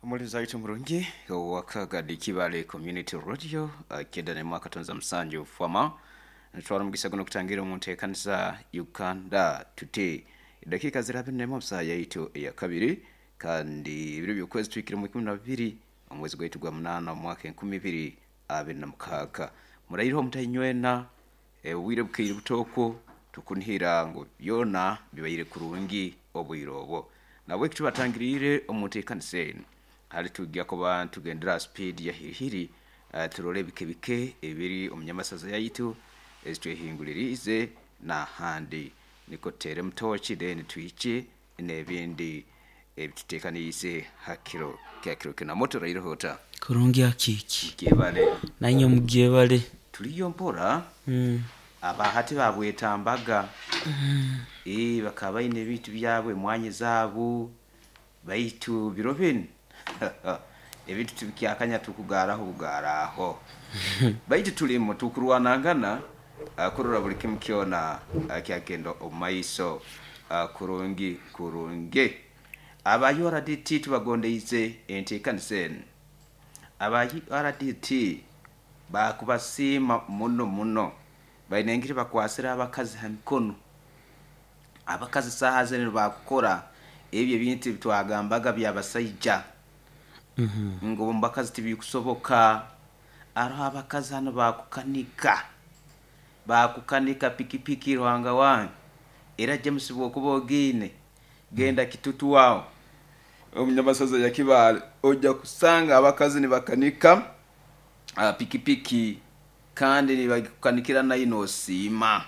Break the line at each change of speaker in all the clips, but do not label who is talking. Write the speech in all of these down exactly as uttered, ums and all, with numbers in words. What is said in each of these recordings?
Omulinzi waitu murungi owakagadi Kibale Community Radio kyenda nemu akatonza musanju fama nitwara omugisa guno okutangira omu nteekaniza Uganda Today. Edakiika ziri abiri nemu omu yaitu eyakabiri, kandi ebiro by'okwezi tuhikire mu ikumi na bibiri omwezi gwaitu gwa munaana omu mwaka enkumi ibiri abiri na mukaaga. Muraireho mutainywena, obwire bukaire butooko, tukunihira ngu byona bibaire kurungi obwire obwo. Nabweki tubatangiriire omu nteekaniza enu, hali tujja kuba nitugendera ha speed ya hirihiri, uh, turole bike bike ebiri omu nyamasaza yaitu ezitwehinguliriize n'ahandi, niko tuteeremu tooki then twije n'ebindi ebituteekaniize ha kiro kya kiro kinu. Namoto oraireho ota?
Kurungi akiiki.
Gyebale.
Nanye mugyebale.
Tuliyo mpora.
Mm.
Abahati babwetambaga, ee bakaba baine ebintu byabo, emwanya zaabo, baitu biro binu ebintu tibikyakanya, tukugaaraho bugaaraho, baitu tulimu tukurwanangana uh, kurora buli kimu kyona uh, kyagenda omu maiso uh, kurungi kurungi. Aba U R D T tubagondeize enteekaniza enu. Aba U R D T bakubasiima muno muno, baine engeri bakwasire abakazi ha mikono. Abakazi saaha zinu bakukora ebyo ebintu ebitwagambaga by'abasaija ngu omu bakazi tibikusoboka. Aroho abakazi hano bakukanika bakukanika pikipiki. Ruhanga wange, era James, bwokuba ogiine, genda Kitutu aho omunyamasaza ya Kibaale, ojja kusanga abakazi nibakanika uh, pikipiki, kandi nibagikukanikira nayo nosiima.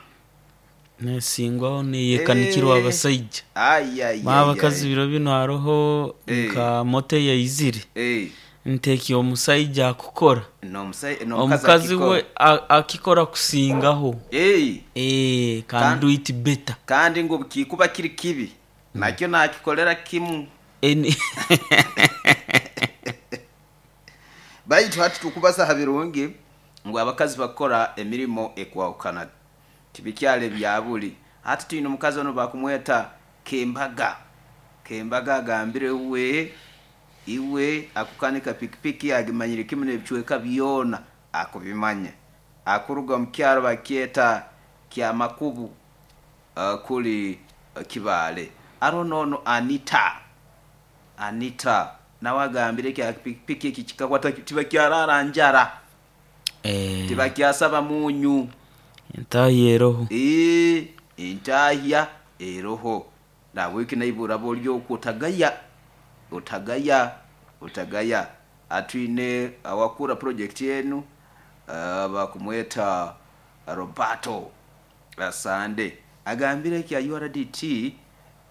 Nesingwaho neyekanikirwa
Eh,
abasaija.
Ai, ai,
Ma
ai,
abakazi
ai.
biro bino haroho
Eh.
nka moto yaizire,
Eh,
nteeki omusaija akukora,
n'omusai- n'omukazi
omukazi
akikora.
we a- akikora kusingaho.
Eh,
Eh, can
Kan-
do it better.
Kandi ngu kikuba kiri kibi, nakyo nakikolera kimu.
Eni-
Baitu hati tukubasa ha birungi ngu abakazi bakora emirimo ekwahukana, tibikyali ebya buli. Hati twine omukazi ono bakumweta Kembaga. Kembaga agambire we iwe akukanika pikipiki, agimanyire kimu n'ebicweka byona akubimanya, akuruga mu kyaro bakyeta Kyamakubu, uh, kuli uh, Kibaale. Aro nono Anita, Anita nawe agambire kya pikipiki eki kikakwata, tibakyarara njara.
Eh,
Tibakyasaba munyu.
Entahi eroho.
Ee, entahya eroho. Nabweki naibura boli okwo, otagaya, otagaya, otagaya. Atwine awakura project enu, uh, bakumweta Roberto Asande, agambire kya U R D T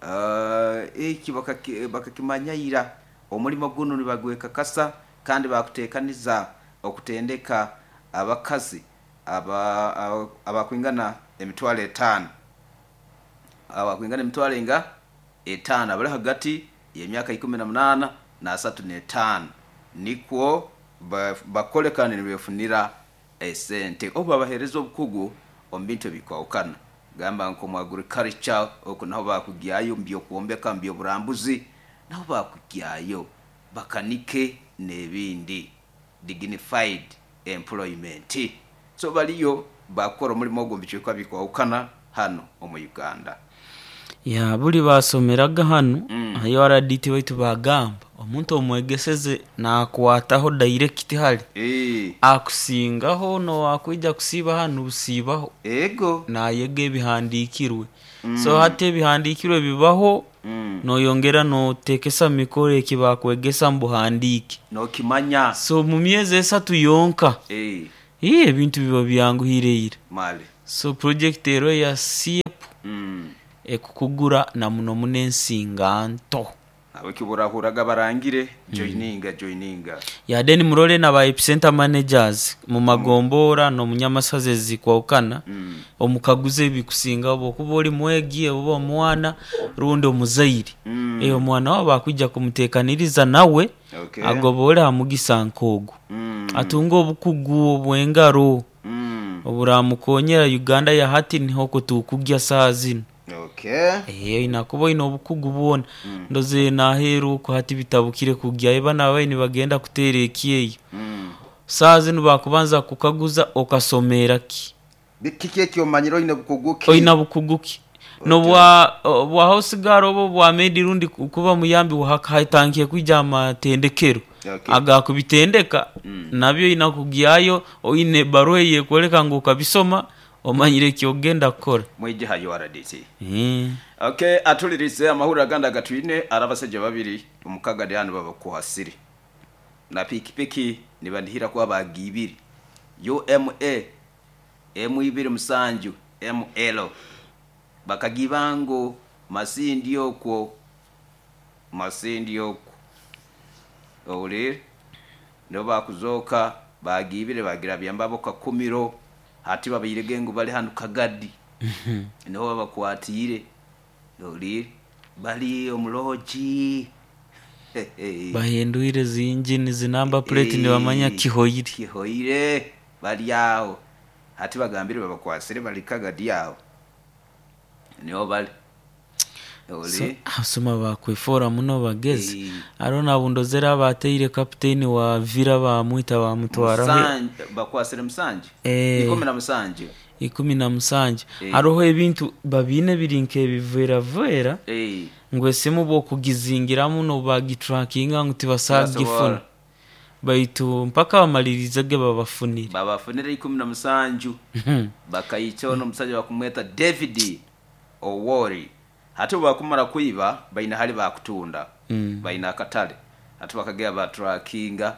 uh, eki bakaki- bakakimanyayira omulimo guno nibagwekakasa, kandi bakuteekaniza okutendeka abakazi aba- aba- abakwingana emitwalo etaano, abakwingana emitwalo enga etaano, abali hagati y'emyaka ikumi na munaana n'asatu n'etaano, nikwo ba- bakole kandi nibefunira esente, obu babahereza obukugu omu bintu ebikwahukana, gamba nko mu agriculture, oku naho bakugyayo, mu byokwombeka, mu byoburambuzi naho bakugyayo, bakanike n'ebindi, dignified employment. So baliyo bakora omulimo ogwo mu bicweka bikwahukana hano omu Uganda.
Ya buli basomeraga hano
Mm.
ayo R D T, baitu bagamba omuntu omwegeseze nakwataho direct hali
Eh,
akusingaho nowakwija kusiiba hano busiibaho,
ego
nayega ebihandikirwe. So hati ebihandikirwe bibaho,
Mm.
noyongera notekesa mikoro eki bakwegesa mubuhandiike,
nokimanya.
So mu myezi esatu yonka,
Eh,
ii ebintu biba byanguhire ira.
Male.
So project ero ya SIEP
Mm.
ekukugura na muno muno ensinga nto.
Abaki burahuraga barangire, joininga, joininga.
Yade nimurole na ba epicenter managers mu magombora n'omunyamasaza ezikwahukana,
Mm.
omukaguze ebikusinga okuba oli mwegi oba omwana rundi omuzaire.
Mm.
Eh, omwana wabo bakwija kumuteekaniriza nawe
Okay.
agobole ha mugisa nk'ogu,
Mm.
atunge obukugu obw'engaro
Mm.
oburamukonyera. Uganda ya hati niho kutukugya saa zinu.
Okay. Okay.
Eh, oina kuba oine obukugu bwona. Ndoze naheeru oku hati bitabukire kugyayo, bana abayi nibagenda kuteera ekyeyo.
Mm.
Saaha zinu bakubanza kukaguza okasomera ki,
kiki ekyomanyire, oine bukugu ki,
oina bukugu ki, nobwa bwa house girl oba bwa maid rundi ku- kuba muyambi, hatankiye kwija amatendekero
Okay.
agakubitendeka nabyo oina kugyayo oine baruha eyekwoleka ngu okabisoma, omanyire ekyogenda kukora.
Mwije ha U R D C.
Eh.
Okay, atulirize amahurire agandi agatwine ari abasajja babiri omukagadi hano babakuhasire na pikipiki nibandihira kuba bagiibire U M A emu ibiri musanju M L, bakagiba ngu Masindi okwo, Masindi okwo owulire nibo bakuzooka bagiibire bagirabya mbabo Kakumiro. Hati babairege ngu bali hanu Kagadi niho babakwatiire, owulire bali omulogi.
Bahindwire zi engine, zi number plate, nibamanya kihoire.
Kihoire, bali aho hati bagambire babakwasire bali Kagadi aho niho bali.
So,
Owulire.
Abasoma bakwefora muno bagezi.
Eh.
Hariho nabundozera abateire kapiteni wa Vira bamwita bamutwaraho.
Musanje- bakwasire musanju.
Eh.
Ikumi na musanju.
Ikumi na musanju.
Eh.
Hariho ebintu babiine biri nk'ebiveravera
Eh.
ngu esimu bwokugizingiramu nobagitrackinga ngu tibasagifuna.
Tibasobora.
Baitu mpaka bamalirize ge babafunire.
Babafunire ikumi na musanju, bakayica ono omusajja bakumweta David Owori. Hati bwebakumara kwiba baina hali bakutunda,
Mm.
baina akatale. Hati bakagera batrackinga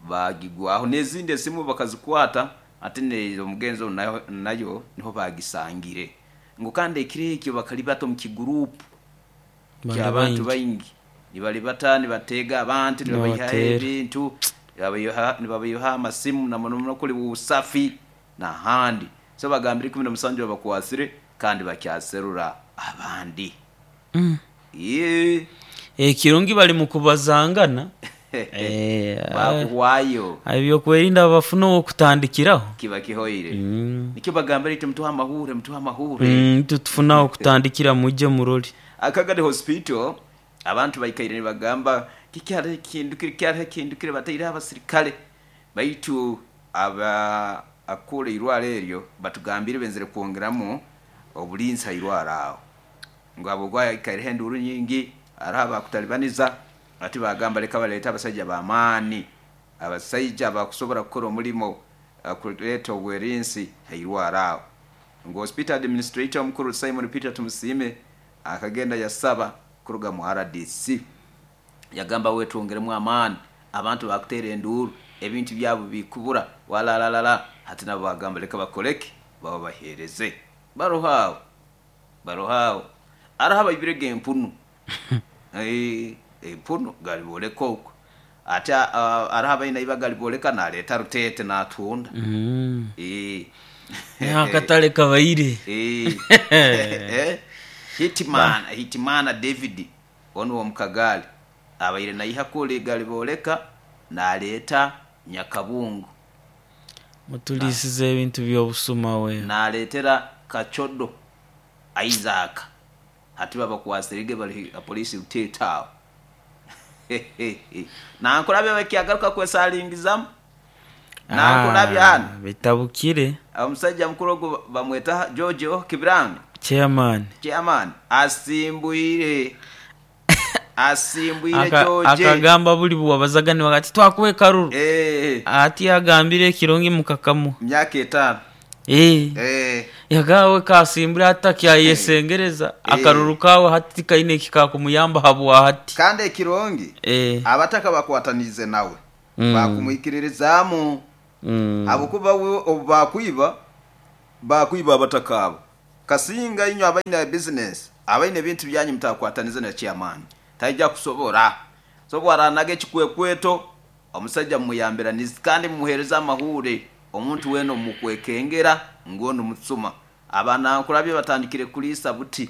bagigwaho n'ezindi esimu bakazikwata. Ate ne omugenzi ono nayo, nayo niho bagisangire ngu kandi ekiro ekyo bakalibata omu kigurupu
Bali
ky'abantu
baingi.
Baingi nibalibata nibatega abantu nibabayihaho
Nibabatera.
ebintu, nibabayiha- nibabayiha amasimu na muno muno kuli busafi n'ahandi. So bagambire ikumi na musanju babakwasire kandi bakyaserura abandi.
Mm.
Ye.
Ekirungi bali mu kubazangana. Eh,
Bakuhwayo.
Ebyokwerinda bafuna owokutandikiraho.
Kiba kihoire.
Mm.
Nikyo bagambire iti mutuha amahure, mutuha amahure.
Mm, tutufuna okutandikira, mujje muroli.
Akagadi Hospital abantu baikaire nibagamba kikyariho ekindukire, kyariho ekindukire, bataireho abasirikale, baitu aba akura irwaro eryo batugambire benzere kwongeramu obulinzi ha irwaro aho ngu abo gwayikaireho enduru nyingi, hariho abakutalibaniza. Ati bagamba leka baleete abasajja bamaani, abasajja bakusobora kukora omulimo uh, kuleeta obwerinsi ha irwaro aho ngu hospital administrator omukuru Simon Peter Tumusiime akagenda yasaba kuruga mu R D C, yagamba wetwongeremu amaani, abantu bakuteera enduru, ebintu byabo bikubura walalalala. Hati nabo bagamba leka bakoleke baba bahereze baroho aho, baroho aho. Araho abaibirega empunu. Eh, empunu galiboleka okwo ate ah, araho abaina iba galiboleka naleeta rutete natunda.
Mm.
Eh.
Akatale kabaire.
Eh. Eh. Hitimana, Hitimana David ono womukagaali abaire naiha kula egali boleka naleeta Nyakabungu.
Mutulisiza ebintu byobusuma we.
Naleetera Kacodo Isaac. Hati babakwasirige bali polisi Rutete awo nankulabya bakyagaruka kwesalingizamu nankulabya hano.
Bitabukire.
Omusajja mukuru ogwo bamweta George O Kibiranga.
Chairman.
Chairman asimbwire, asimbwire.
Aka-
George
akagamba buli bwabazagani wakati twakuwa ekaruru.
Eh,
ati agambire ekirungi mukakamu.
Myaka etaano.
Eh.
Eh,
yagawe kasimbura atakyayesengereza akaruru kawe hati kaine kikakumuyamba habwa hati.
Kandi ekirungi
Eh.
abataka bakwatanize nawe,
Mm.
bakumwikiririzaamu
Mm.
habwokuba we obu bakwiba bakwiba abataka abo kasinga inywe abaine business, abaine ebintu byanyu mutakwatanize na chairman taija kusobora. So bwaranaga ekikwekweto omusajja mumuyambiranizi kandi mumuhereza amahure omuntu wena omukwekengera ngono mutsuma abanankurabye batandikire kuliisa buti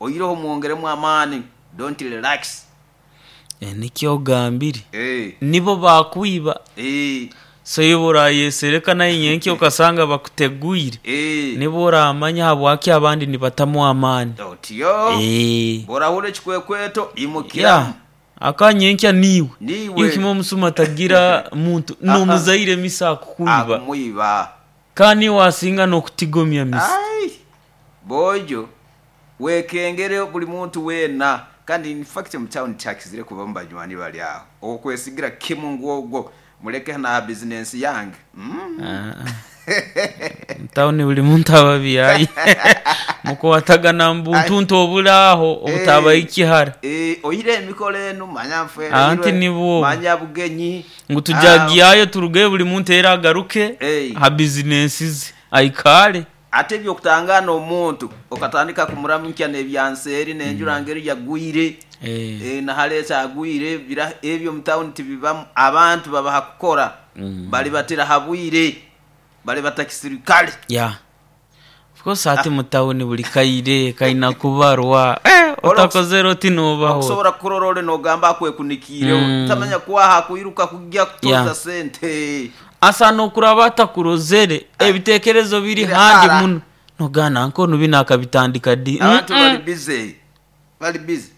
oyireho mwongeremu amaani, don't relax.
Eh, nikyo ogambire.
Eh,
nibo bakwiba.
Eh,
So iwe orayesereka naye nyenkya okasanga bakuteguire,
Eh,
nibo oramanya habwaki abandi nibatamu amaani.
Otyo.
Eh.
Borahura ekikwekweto
Ya
imukiramu.
Akanyenkya niiwe.
Niiwe.
Iyo kimwe omusuma tagira muntu nomuzaire misa akukuiba.
Akumwiba.
Kandi wasinga nokutigomya misa.
Ai, bojo wekengere buli muntu weena. Kandi in fact mu town kyakizire kuba mu banywani bali aho okwesigira kimu ngwogwo muleke na bizinensi yange, mm.
Ah, ah. Mutawuni buli muntu aba byayi mukwatagana mbuntuntu obulaho obutaba ikihara.
Eh, oyire emikolo enu manya nfere.
Anti nibwo.
Manya bugenyi.
Ngu tujagiyayo turuge buli muntu era agaruke
Eh.
ha bizinensi ze aikale.
Ate ebyokutangana omuntu okatandika kumuramukya n'ebyanseeri n'enjura ngeri yagwire.
Eh.
Eh, nahaleeta agwire bira ebyo mu town tibibamu, abantu babaha kukora, bali batera habwire, bali batakisirikale.
Ya, of course ati mutawuni buli kaire kaina kubarwa, eh, otakozere oti nobaho.
Okusobola kukurora ole nogamba akwekunikiireho.
Mm.
Tamanya kwaha kwiruka kujja kutoza
Yeah.
sente.
Asa nokuraba atakurozere, ebitekerezo biri
Biri
handi
hara.
muno nogana nkono bino akabitandika di.
Abantu
Mm-mm.
bali busy, bali busy,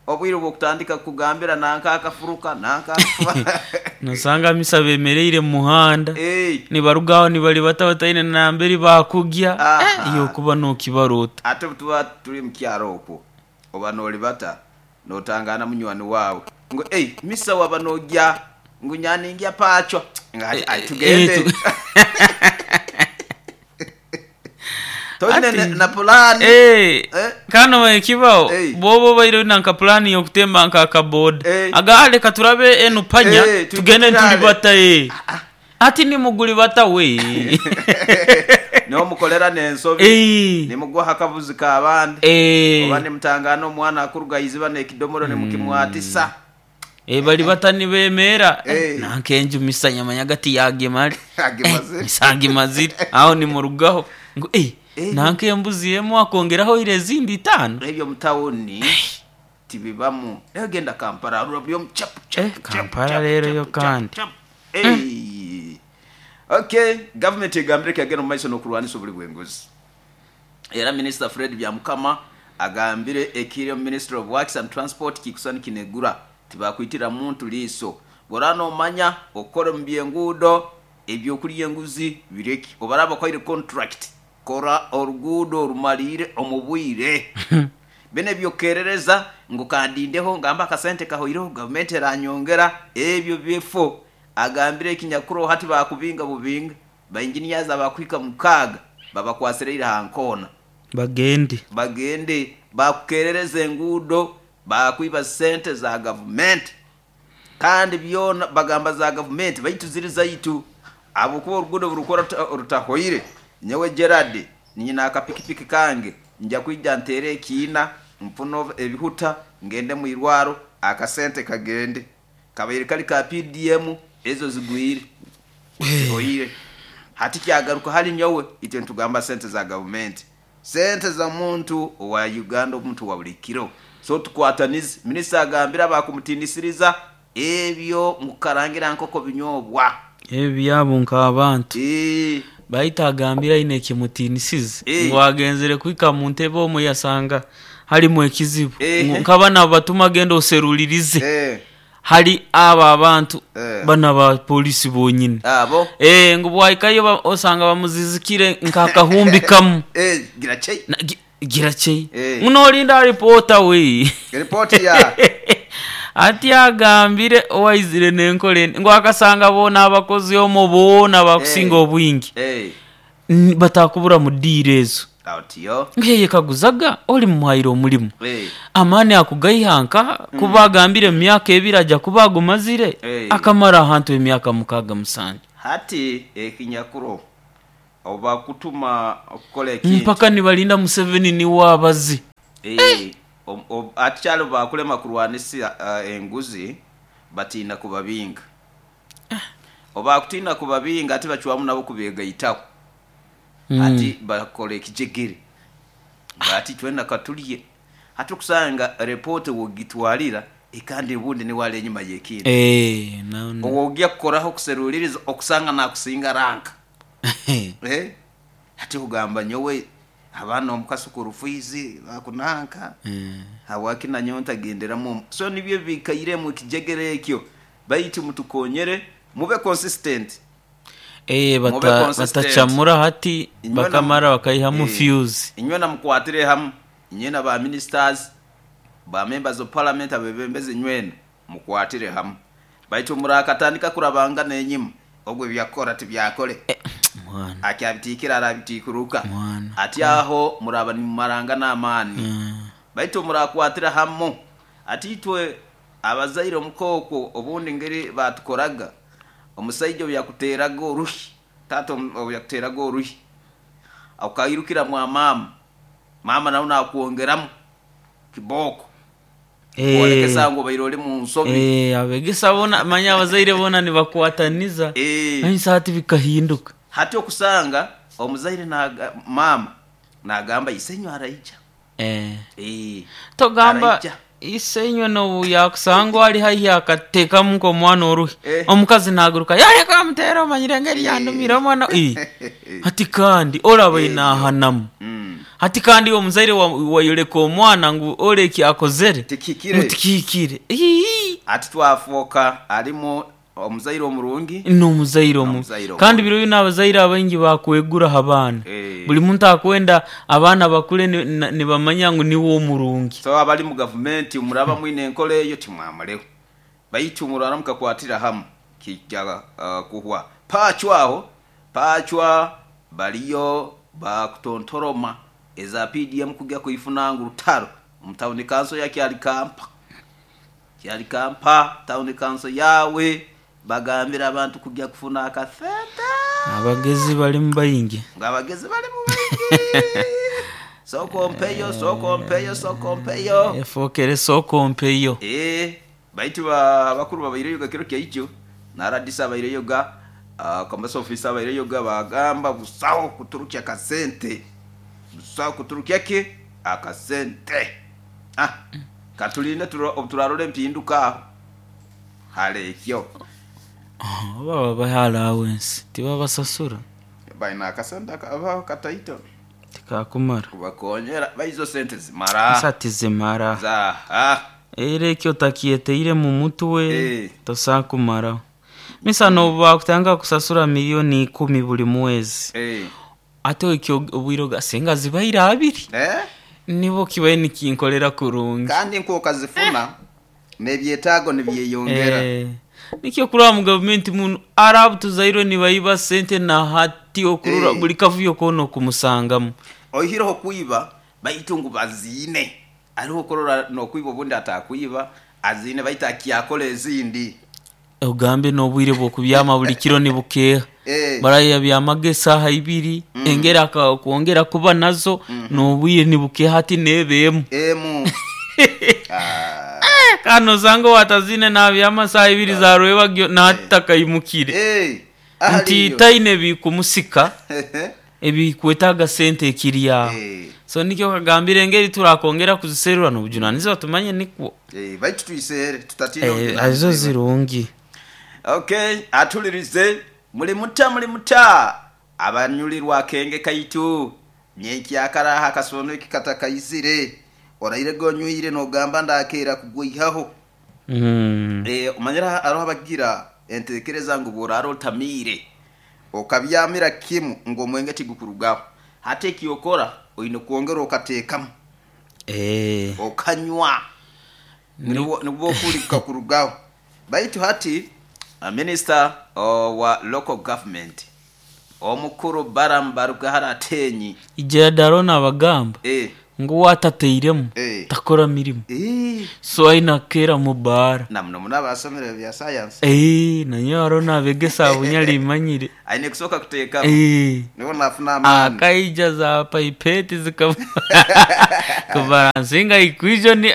obwire bwokutandika kugambira nanka akafuruka nanka akafuruka.
Nosanga misa bemereire mu muhanda,
Eh,
nibarugaho nibali bata bataine namberi bakugya.
Aha.
Eh, iyo kuba nokibarota.
Ate tuba tuli mukyalo okwo oba nolibata notangana munywani waawe ngu ei misa waba nojja ngu nyaningya pacho nga ati, "Ai, tugende."
Eh, tu-
Toine
Ati-
na- na pulani.
Eh,
Eh.
kano ekibaho
Eh.
boba obaire nanka pulani yokutemba nka akaboda,
Eh.
aga leka turabe enu panya,
Eh,
tugende
tugende.
ntulibata, eh. Ati nimuguli bata we.
Nomukolera nensobi,
Eh.
nimugwaho akabuzi kabandi,
Eh.
oba nimutangana omwana akuruga iziba nekidomoro nimukimwatisa.
Eh, bali bata nibemera.
Eh.
Nanka enju misa nyamanya gati yagemale.
Agemazire.
Misange mazire aho nimurugaho ngu eh,
Eh.
nanka embuzi emu akongeraho ire ezindi itaano.
Ebyo mutawuni tibibamu. Naye genda Kampala rura buli omu chapu, chapu,
Eh,
chapu,
Kampala
chapu,
rero
chapu,
yo
chapu,
kandi.
chapu. Eh. Okay, gavumenti egambire kyagenda mu maiso n'okulwanisa obuli bw'enguzi. Era Minisita Fred Byamukama agambire ekiri omu Ministry of Works and Transport kikusani kinegura tibakwitira muntu liiso bwora nomanya okukora omu byenguudo ebyokulya enguzi bireki obaraba kwaire contract kora oruguudo orumaliire omu bwire bene byokerereza ngu kandindeho ngamba akasente kahoireho gavumenti eranyongera ebyo byefo. Agambire ekinyakuro hati bakubinga bubinga bainjiniyazi abakuhika mukaaga babakwasireire hankoona.
Bagende.
Bagende bakukerereza enguudo bakwiba sente za gavumenti kandi byona bagamba za gavumenti baitu ziri zaitu abukuba oruguudo burukora rutahoire. Nyowe Gerard nyina akapikipiki kange nja kwija ntere ekiina nfuna ebihuta ngende mwirwaro akasente kagende kabaire kali ka P D M ezo zigwire zihoire hati kyagaruka hali nyowe. Itwe ntugamba sente za gavumenti, sente za muntu owa Uganda, omuntu wa buli kiro, so tukwatanize. Minisita agambira bakumutinisiriza ebyo mukarangira nkoko binyobwa.
Ebyo byabo nk'abantu.
Eh,
bahita agambira aine ekimutinisize
Eh.
ngu agenzere kwika mu ntebe omwe yasanga halimu ekizibu.
Eh.
Ngu nkabana batuma genda oserulirize
eh,
hali abo abantu
Eh.
bana ba polisi bonyine.
Abo.
Eh, ngu bwahikayo ba- osanga bamuzizikire nk'akahumbi kamu.
Eh, gira chei.
Na- gi- gira chei.
Eh.
Munolinda ripota we.
Ripoti ya
Ati agambire owaizire nenkola eni ngu akasanga boona abakozi omwo boona bakusinga
Eh.
obwingi
Eh,
N- batakubura mu diiro ezo.
Autiyo.
Ngeyekaguzaga oli mumuhaire omulimu,
Eh,
amaani akugaihanka kuba agambire mu myaka ebiri ajja kuba agumazire.
Eh.
Akamara ahantu emyaka mukaaga musanju.
Hati ekinyakuro obakutuma okukola ekintu
Mpaka nibalinda Museveni niwe abazi.
Eh, om- ob- ati kyalo bakulema kurwanisa uh, enguzi batiina kubabinga oba kutiina kubabinga ate bacwamu nabo kubegaitaho.
Mm.
Ati bakola ekijegere ati twena katulye hati okusanga repoti wogitwalira Kandi ubundi niwe ali enyuma y'ekintu.
Eh, na-
Owogya kukoraho kuseruliriza okusanga nakusinga ranka. Eh? Hati kugamba nyowe abaana omukasukuru fizi bakunanka
Eh.
hawaki nanyowe ntagenderamu, so nibyo bikairemu ekijegere ekyo. Baitu mutukonyere mube consistent.
Eh,
Mube
bata-
consistent.
batacamura hati
Inywe na-
bakamara bakayihamu
Eh,
fuse.
Inywe namukwatire hamu, inywe na ba ministers, ba members of parliament, abebembezi, nywena mukwatire hamu. Baitu murakatandika kurabanga nenyima, ogwo byakora tibyakole.
Mwana.
Akyabitikira arabitikuruka.
Mwana.
Ati aho muraba nimumaranga n'amaani.
Mm.
Baitu murakwatira hamu. Ati itwe abazaire omukoko obundi ngeri batukoraga, omusaija obu yakuteraga oruhi, tata obu yakuteraga oruhi, okairukira mwa mama, mama nawe nakwongeramu kiboko
Eh.
kwolekesa ngu obaire oli mu nsobi.
Eh, abegesa bona manya abazaire bona nibakwataniza.
Eh.
Manyisa hati bikahinduka.
Hati okusanga omuzaire naga, mama nagamba isenyu araija.
Eh.
Eh,
Togamba
araija.
Isenywe nobu yakusangwa ali haihi akatekamu nk'omwana oruhi,
Eh.
omukazi naguruka yareka amuteera, omanyire engeri yandumire omwana. Eh. Hati kandi oraba inahanamu.
Mm.
Hati kandi omuzaire wa- wayoleka omwana ngu oleki akozere
Tikikire.
Mutikikire. Ii.
Ati twafoka alimu omuzaire omurungi
N'omuzaire omu
N'omuzaire omu.
Kandi biro bino abazaire abaingi bakweguraho abaana.
Eh.
Buli muntu akwenda abaana bakule ni- na- nibamanya ngu niwe omurungi.
So abali mu gavumenti muraba mwine enkola eyo timwamaleho, baitu murara mukakwatira hamu kijja uh, kuhwa. Pacwa aho pacwa baliyo bakutontoroma eza P D M kujya kuifuna ngu rutaro mu town council ya Kyalikampa. Kyalikampa town council yawe bagambira abantu kujya kufuna akasente.
Abagezi balimu baingi.
Ng'abagezi bali mu baingi, soko mpeyo, soko mpeyo, soko mpeyo.
Efokere soko mpeyo.
Eh, baitu ba bakuru babaireyoga kiro kyaijo, naradisa abaireyoga, uh, commerce officer abaireyoga, bagamba busaho kuturukya akasente, busaho kuturukya ke akasente. Ah, katulinde turarora empinduka aho hale ekyo.
Baba baha allowance tibabasasura.
Baina akasente akabaho kataito.
Tikakumara.
Kubakonyera baizo sente zimara.
Sati zimara.
Za ah.
Era ekyo otakyeteire mu mutwe,
Eh.
tosakumaraho misa nobu bakutanga kusasura miliyoni ikumi buli mwezi,
eh.
ate ekyo obwire ogasenga zibaire abiri,
Eh?
nibo kibaye nikinkolera kurungi.
Kandi nk'okazifuna n'ebyetaago nibyeyongera.
Eh, nikyo kuraba mu gavumenti muno arabu tuzairwe nibayiba sente na hati okurura
Eh.
buli kavuyo koona okumusangamu.
Oihireho kwiba, baitu ngu baziine ariho okurora nokwiba, obundi atakwiba aziine, baitu akyakola ezindi.
Ogambe n'obwire bw'okubyama buli kiro nibukeha.
Eh.
Baraya byamaga esaaha ibiri, engeri aka- kwongera kuba nazo n'obwire nibukeha hati nebeemu.
Emu. Ah.
Kandi osanga watazine nabyama saaha ibiri zarwebagyo nahati takayimukire.
Eh,
Nti
ahaliyo.
taine ebikumusika ebikwetaaga sente ekiri aho.
Eh.
So nikyo kagambire engeri turakongera kuziserura n'obujunanizibwa tumanye nikwo.
Eh, baitu tuiseere tutatina.
Eh,
obujunanizibwa.
Azo zirungi.
Okay, atulirize muli muta, muli muta abanyulirwa akenge kaitu nyenkyakaraha akasono eki katakaizire oraire gonywire nogamba ndakera kugwihaho.
Mm.
Eh, omanyira hariho abagira entekereza ngu bworara otamiire okabyamira kimu ngu omwenge tigukurugaho, hati ekyokora oine kwongera okateekamu
Eh.
okanywa nibwo nibwo okuli kukakurugaho. Baitu hati uh, minister uh, wa local government omukuru Baram Barugahara Atenyi.
Ijera daro nabagamba
eh,
ngu watateiremu
Eh.
takora mirimu.
Eh,
So aina kera mu bara.
Na muno muno abasomere bya science.
Eh, nanyo haro nabegesa abunyali imanyire.
Aine kusooka kuteekamu
Eh.
nibo nafuna amaani.
Akaija za pipette zikaba kubalansinga equation eh.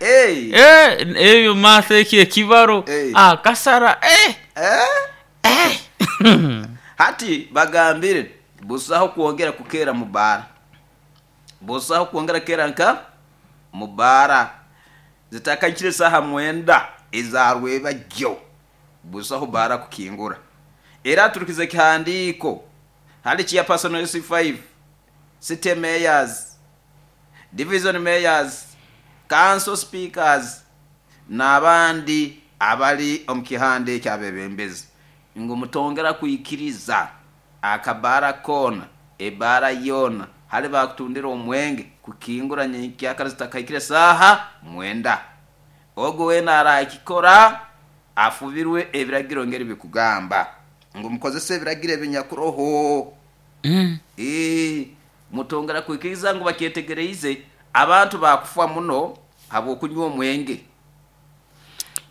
Eh,
Eh, ebyo math eki ekibaro.
Eh.
Akasara eh.
Eh?
Eh.
Hati bagambire busaho kwongera kukera mu bara, busaho kwongera kera nka mu bara. Zitakakire saha mwenda ezarwebajyo busaho bara kukingura. Era turukize kihandiko hali chia personal S five city mayors, division mayors, council speakers n'abandi abali omu kihande kyabebembezi ngu mutongera kuikiriza akabara kona ebara yona hali bakutundira omwenge kukingura nyenkyakara zitakaikire saha mwenda. Ogo wena arakikora afubirwe ebiragiro ngeri bikugamba ngu mukozese ebiragiro ebinyakuroho.
Mm.
Eh, mutongera kuikiriza ngu bakyetegereize abantu bakufa muno habwokunywa omwenge.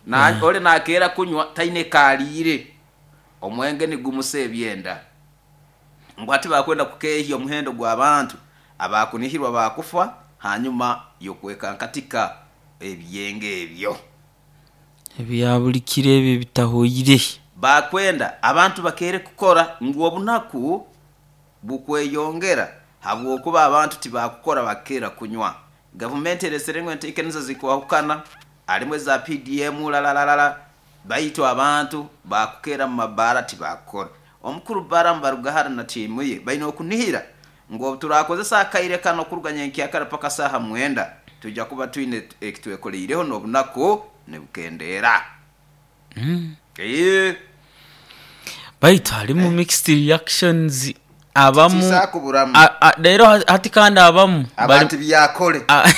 Na
Mm.
ole nakera kunywa taine kalire omwenge nigumuse ebyenda. Ngu ati bakwenda kukehya omuhendo gw'abantu abakunihirwa bakufa hanyuma yokweka nkatika ebyenge ebyo.
Ebya buli kiro ebyo bitahoire.
Bakwenda abantu bakere kukora ngu obunaku bukweyongera habwokuba abantu tibakukora bakera kunywa. Gavumenti eresere ngu enteekaniza zikwahukana alimu eza P D M lalalala baitu abantu bakukera mu mabara tibakukora. Omukuru Balaam Barugahara na tiimu ye baine okunihira ngu obu turakozesa akaire kano kuruga nyenkyakara paka saha mwenda tujja kuba twine ekitwekoreireho n'obunaku nibukendeera.
Mm.
Eh.
Baitu harimu mixed reactions abamu
Tisakuburamu.
A-, a-, rero hati kandi abamu
abantu
bari
byakole.
A-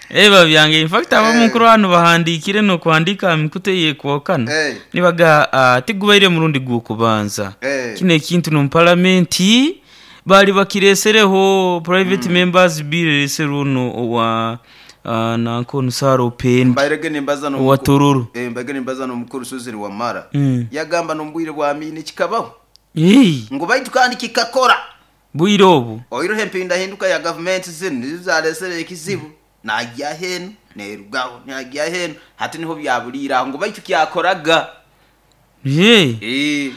Eba byange in fact abamu
Eh.
nkuru hano bahandikire no kwandika mikute yekwokana.
Eh.
Nibaga, ah, tigubaire murundi gukubanza.
Eh.
Kino ekintu no parliament bali bakiresereho private
Mm.
members bill reseruno owa, ah, nanko Nsaro Pen.
Mbairege nimbaza no
Owa
mukuru.
Tororo.
Eh, mbairege nimbaza no mukuru Susan Wamara.
Mm.
Yagamba no mbwire bwa mini kikabaho.
Hey.
Ngo baitu kandi kikakora.
Bwire obu.
Oyirohe mpinda hinduka ya government zinu nizaresere ekizibu. Najya henu nerugaho najya henu hati niho byabulira ngo baitu kyakoraga.
Ye.
Eh.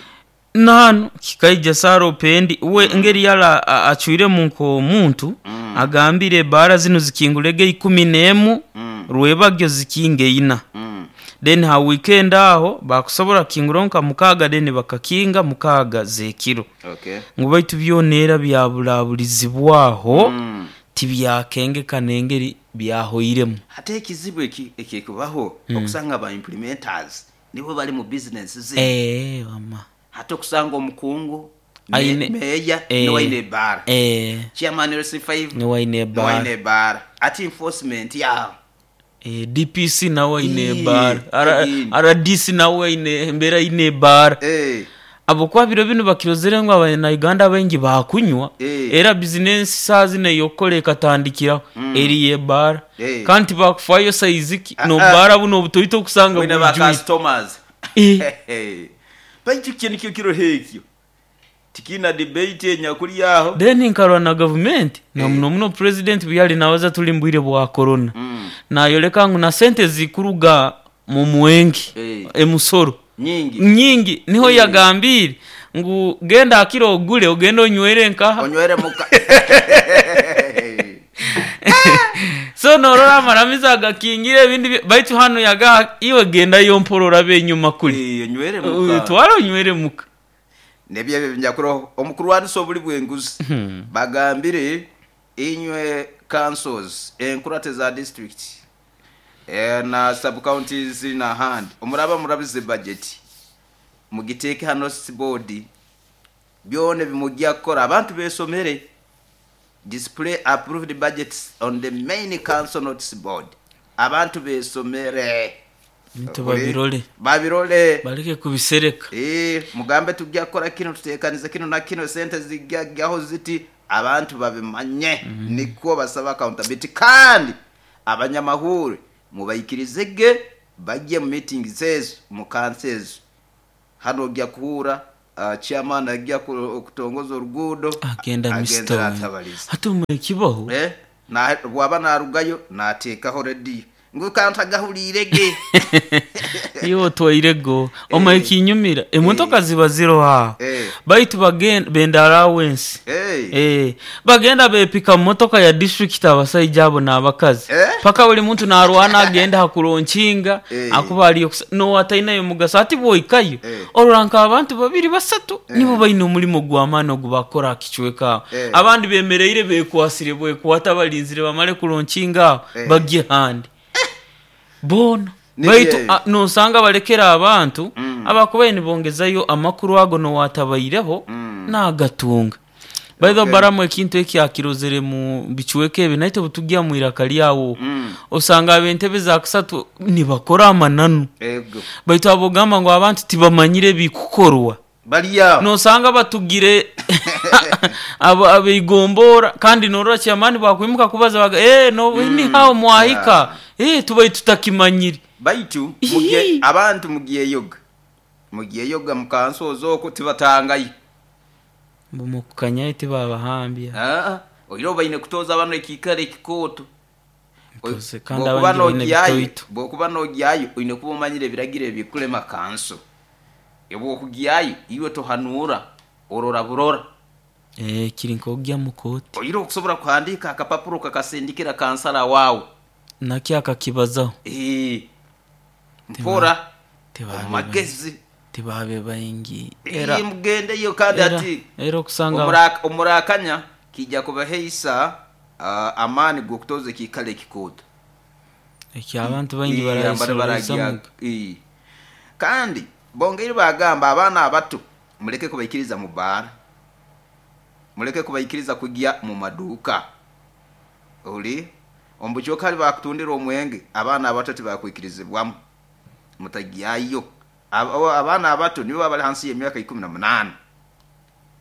Nano kikaija Saro Pendi we
Mm.
ngeri yala a-, achuire munko muntu
Mm.
agambire bara zino zikingulege ikumi nemu
Mm.
rwebagyo zikinge ina.
Mm.
Then ha weekend aho bakusobora kinguronka mukaga then bakakinga mukaga zekiro.
Okay.
Ngo baitu byonera byabulabulizibwaho
Mm.
tibyakenge kanengeri byahoiremu.
Hate ekizibu eki ekikubaho
Mm.
okusanga ba implementers nibo bali mu business zi.
Eh, mama.
Hate okusanga omukungu me-
Aine
meya
eh,
no aine bar.
Eh.
Chairman R C five
no aine
no
bar.
aine bar. Ati enforcement ya.
Eh, D P C nawe aine
Eh,
bar. R-,
eh.
R D C nawe aine mbera aine bar.
Eh.
Abo kwa biro bino bakirozere ngo abana Uganda bengi bakunywa.
Eh.
Era business sazi ne yokole katandikira
Mm.
eri ye bar.
Eh.
Kanti bakufayo size
Ah,
no
ah.
bara buno butoito kusanga
Wena ba
bujui.
customers.
Eh.
Baitu kintu kyo kiro hekyo. Tikina debate enyakuri yaho.
Then nkarwa na government na
Eh.
muno muno president byali nawaza tuli mbwire bwa corona.
Mm.
Na yoleka ngu na sente zikuruga mu mwengi
Eh.
emusoro.
Nyingi.
Nyingi niho
Eh.
yagambire ngu genda akiro ogule ogende onywere nkaha.
Onywere muka.
So norora amaramiza agakingire ebindi bye-, baitu hano yaga iwe genda yomporora benyuma kuli.
Eh, onywere muka.
Twara onywere muka.
Nebye ebyo njakuro omukuru wa nsobuli bwenguzi.
Hmm.
Bagambire inywe councils enkurate za district eh, na sub counties na hand omuraba murabize budget mugiteke hano board byone bimujya kora abantu besomere display approved budgets on the main council notice board abantu besomere
Nito babirole.
Babirole.
Bareke kubisereka.
Eh, mugambe tujya kora kino tutekanize kino na kino sente zijyaho ziti abantu babimanye.
Mm -hmm.
Niko basaba accountability kandi abanyamahuri mubayikirizege bajye mu meeting zezo mu councils. Hano ujya kuhura, uh, chairman ajya kutongoza urugudo,
agenda
agenda
Mister
atabariza.
Hatume kibaho.
Eh, na waba narugayo natekaho ready. Ngu kantagahulirege.
Iwe otwairego omaye kinyumira emotoka ziba ziroho aho.
Eh.
Baitu bagenda benda allowance.
Eh.
Eh, bagenda bepika mu motoka ya district abasaija abo n'abakazi.
Eh?
Paka buli muntu narwana agenda hakuronkinga
Eh.
akuba aliyo kusa- nowatainayo mugaso ati bwoikayo
Eh.
orora nka abantu babiri basatu nibo baine omulimo gw'amaani ogubakora akicweka aho.
Eh.
Abandi bemereire bekwasire bwekwata balinzire bamale kuronkinga aho
Eh.
bagye handi boona.
Nibyo
Baitu
ebyo.
a- nosanga balekera abantu
Mm.
abakubaye nibongezayo amakuru ago nowatabayireho
Mm.
nagatunga. By the way,
Okay.
baramu ekintu ekyakirozere mu bicweka ebi naite butugya mu iraka lyawo
Mm.
osanga ab'entebe za kusatu nibakora amananu.
Ego.
Baitu abogamba ngu abantu tibamanyire bikukorwa
Baliya.
nosanga batugire abo abeigombora kandi norora kyamani bakwimuka kubaza baga eh no ni hao mwahika eh tubaye tutakimanyire.
Baitu
Ihi.
mugiye abantu mugiye yoga. Mugiye yoga mukansozo oko tibatangayo.
Mumukanya tibabahambya.
Ah, oiro baine kutoza abantu ekikare ekikoto.
Ntoze, kandi
Bwokuba
abandi baine
nogyayo,
bitoito.
bwokuba nogyayo oine kuba omanyire ebiragiro ebikulema kanso. Ebwokugyayo iwe tohanura orora burora.
Eh kiri nkogya mukoti.
Oiro okusobola kuhandika akapapuro kakasindikira kansala wawe.
Nakyo akakibazaho.
Eh. Mpora
Tibabe
omagezi.
Tibabe baingi.
Era
Era
mugendeyo kandi
era
ati
era okusanga
omuraka omurakanya kijja kubaheisa uh, amaani g'okutoza ekikale ekikoto.
ekyo abantu baingi
Eh, abantu
barayisoroza.
baragira- eh. Kandi bongeire bagamba abaana abato muleke kubaikiriza mu baara, muleke kubaikiriza kujya mu maduuka. Oli omubucooka ali bakutundira omwenge abaana abato tibakwikirizibwamu, mutagyayo. Aba- abaana abato nibo bali hansi y'emyaka ikumi na munaana,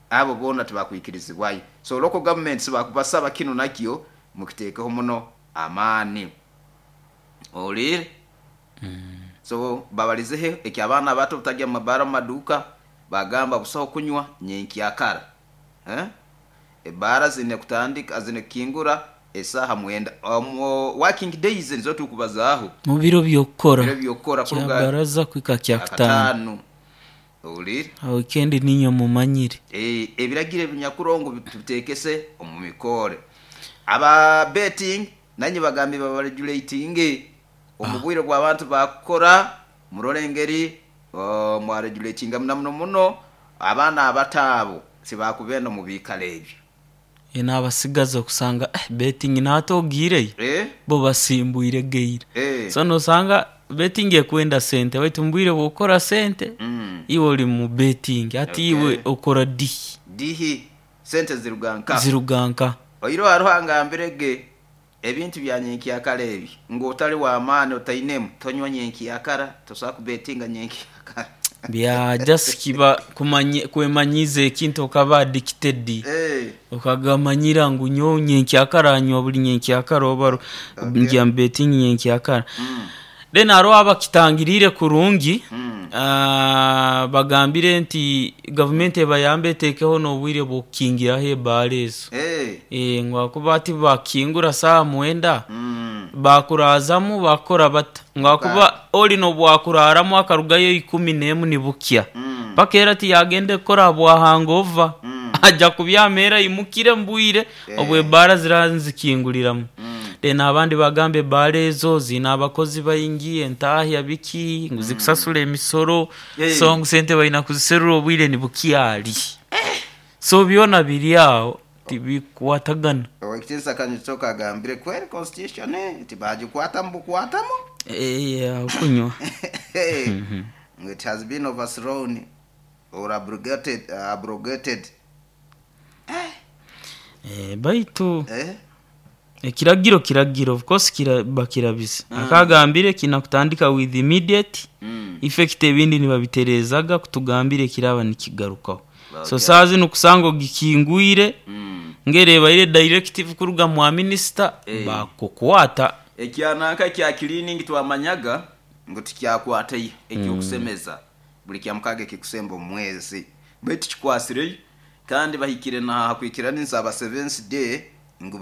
abo boona tibakwikirizibwayo. So local governments bakubasaba kino nakyo mukiteekeho muno amaani. Olire so babalizehe ekyo abaana abato butajya mu mabaara mu maduuka bagamba busaho kunywa nyenkyakara. Eh? Ebaara zine kutandika zine kukingura esaaha mwenda um, working days nizo tukubazaaho
mu biro byokukora
biro byokukora
kya
kuruga
baraza kwika kya kutaano.
akataano. Olire
Weekend ninyo mumanyire.
Eh, ebiragiro ebinyakurongo tubitekese omu mikore. Aba betting nanye bagambye babaregulatinge omu bwire bw'abantu bakukora murole engeri uh, mwaregulatinga muno muno muno abaana abato abo tibakubenda mu biikaro ebyo.
N'abasigaza okusanga eh, betting natogiireyo
Eh?
bo basimbwire geire.
Eh.
So nosanga betting ekwenda sente baitu mbwire bwokora sente
Mm.
iwe oli mu betting ati
Okay.
iwe okora dihi
Dihi sente ziruganka.
ziruganka.
Oiro hariho angambirege ebintu bya nyenkyakara ebi ng'otali w'amaani otainemu tonywa nyenkyakara tosobola kubetinga nyenkyakara.
Bya just kiba kumanye kwemanyiza ekintu okaba addicted.
Eh.
Okagamanyira ngu nyowe nyenkyakara nywa buli nyenkyakara oba ru-
Okay.
ngya betting nyenkyakara.
Mm.
Then hariho abakitangirire kurungi.
Mm.
Ah, bagambire nti gavumenti ebayambe eteekeho n'obwire bw'okukingiraho ebaara ezo.
Eh.
Eh, ngu akuba ati bakingura saaha mwenda
Mm.
bakurazamu bakora bata ngu akuba oli nobwakuraaramu akarugayo ikumi n'emu nibukya.
Mm.
Paka era tiyagenda ekukora bwahangova.
Mm.
Ajja kubyama era imukire mbwire
Eh.
obwo ebaara zira nzikinguliramu.
Mm.
Then abandi bagamba ebaara ezo ziine abakozi baingi entahya biki ngu zikusasula emisoro.
Eh.
So ngu sente baina kuziserura obwire nibukyali. So byona biri aho tibikwatagana.
Owekitinisa Kanyitoka agambire kweri constitution eh, tibagikwatamu bukwatamu.
Eh, aho kunywa.
It has been overthrown or abrogated, uh, abrogated.
Eh, baitu
Eh?
ekiragiro kiragiro of course kira, bakirabisa. Akagambire kinakutandika with immediate
Mm.
effect ebindi nibabiterezaga kutugambire kiraba nikigarukaho. So
Okay.
saa zino kusanga ogikingwire
Mm.
ngerebaire directive kuruga mwa minister
Eh.
bakukwata.
Ekyananka kya cleaning twamanyaga ngu tikyakwatayo ekyokusemeza buli kya mukaaga ekikusemba omu mwezi baitu kikwasireyo kandi bahikire na hakwikiraniza aba seventh day